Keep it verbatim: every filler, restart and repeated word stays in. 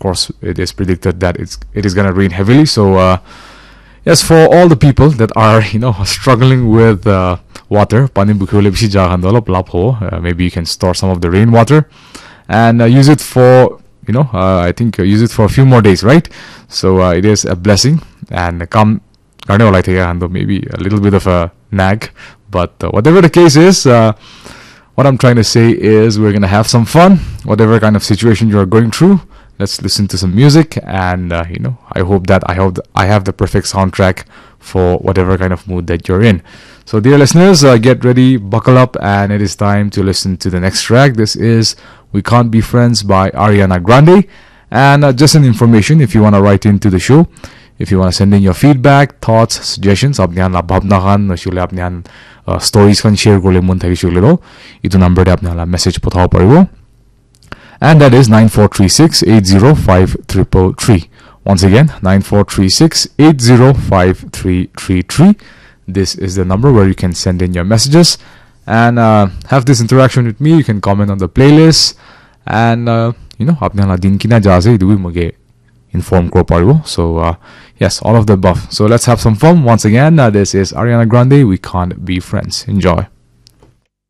course, it is predicted that it's it is gonna rain heavily. So uh, yes, for all the people that are you know struggling with uh, water, pani bukhi bole bishi jaga khan toh olop lab hobo. Uh, maybe you can store some of the rainwater and uh, use it for you know uh, I think uh, use it for a few more days, right? So uh, it is a blessing and kam karne olai thaka khan toh maybe a little bit of a nag, but uh, whatever the case is, uh, what I'm trying to say is we're gonna have some fun, whatever kind of situation you are going through. Let's listen to some music, and uh, you know, I hope that I hope th- I have the perfect soundtrack for whatever kind of mood that you're in. So, dear listeners, uh, get ready, buckle up, and it is time to listen to the next track. This is "We Can't Be Friends" by Ariana Grande. And uh, just an information, if you want to write into the show, if you want to send in your feedback, thoughts, suggestions, apni khan la bhabna khan, noshile apni khan uh, stories khan share kole mon thakishe kole toh, itu number te apni khan la message pothabo paribo. And that is nine four three six eight zero five triple three. Once again, nine four three six eight zero five three three three. This is the number where you can send in your messages and uh, have this interaction with me. You can comment on the playlist and uh, you know, apni khan la din kina ja ase itu bi moke inform kuro paribo. So uh, yes, all of the above. So let's have some fun. Once again, uh, this is Ariana Grande. "We Can't Be Friends." Enjoy.